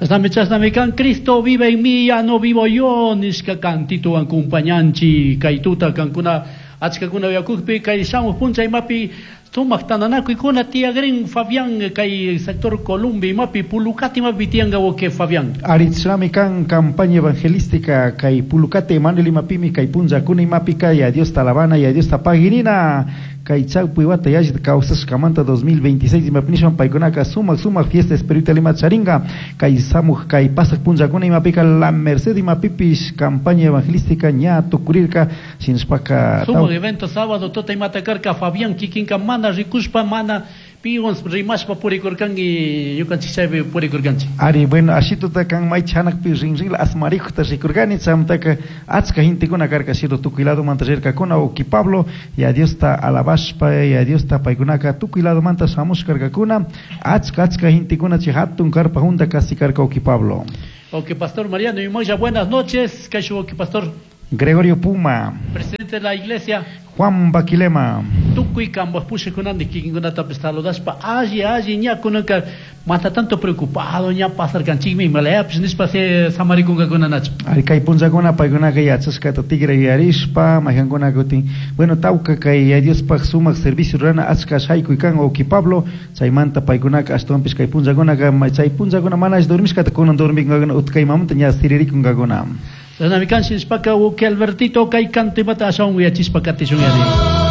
Chashnami, chashnami kan "Cristo vive en mí, ya no vivo yo" nishka cantituwan compañanchi kay tuta kankuna achkakuna uyakukpi. Kay shamuq puncha imapi sumaq tantanakuykuna tiyagrin, Fabián, kay sector Columbia imapi, Pulucate imapi tiyanka, wawqi Fabián? Ari, chashnami kan campaña evangelística kay Pulucate Emanuel imapimi kay punllakuna imapika ya Diosta alabana, ya Diosta paginina kay chawpi wata yallita kawsashkamanta 2026 imapi nishwan paykunaka sumak sumak fiesta espiritual ima charinka. Kay shamuj kay pasaq punllakuna imapika La Merced imapipish campaña evangelística ña tukurirka. Shinashpaka sumak evento sábado tuta imata karka, Fabián. Kikinka mana rikushpa, mana piwan rimashpa purikurkanki, ñukanchik chaypi purikurkanchik. Ari, bueno, ashituta kan may chanakpi rinrinla asmarikta rikurkani. Chaymantaka achka gentekuna karka, shiru tukuy ladomanta rirkakuna, wawqi Pablo, ya Diosta alabashpa, ya Diosta paykunaka tukuy ladomanta shamushkarkakuna. Achka achka gentekuna chay hatun carpa junta kasi karka, wawqi Pablo. Ok, pastor Mariano y Moya, buenas noches. Kay pastor Gregorio Puma, presidente de la iglesia Juan Baquilema, tukuy kambaj pushakunandi kikinkunatapis saludashpa alli alli ña kunanka mana tanto preocupado ña pasarkanchikmi imalayapish nishpa se samarikunkakuna, nachu? Ari, kay punllakuna paykunaka yachashkata tigra yuyarishpa maykankuna kutin, bueno, tawka kay ya Diospaj sumak servicio rurana achka shaykuy kan, wawqi Pablo. Chaymanta paykunaka ashtawanpish kay punllakunaka chay punllakuna mana dormishkata kunan dormikunkakuna, utkaymamanta ña siririkunkakuna. Chashnami kan. Shinashpaka, wawqi Albertito, kay canto imata ashawan uyachishpa katishun yari.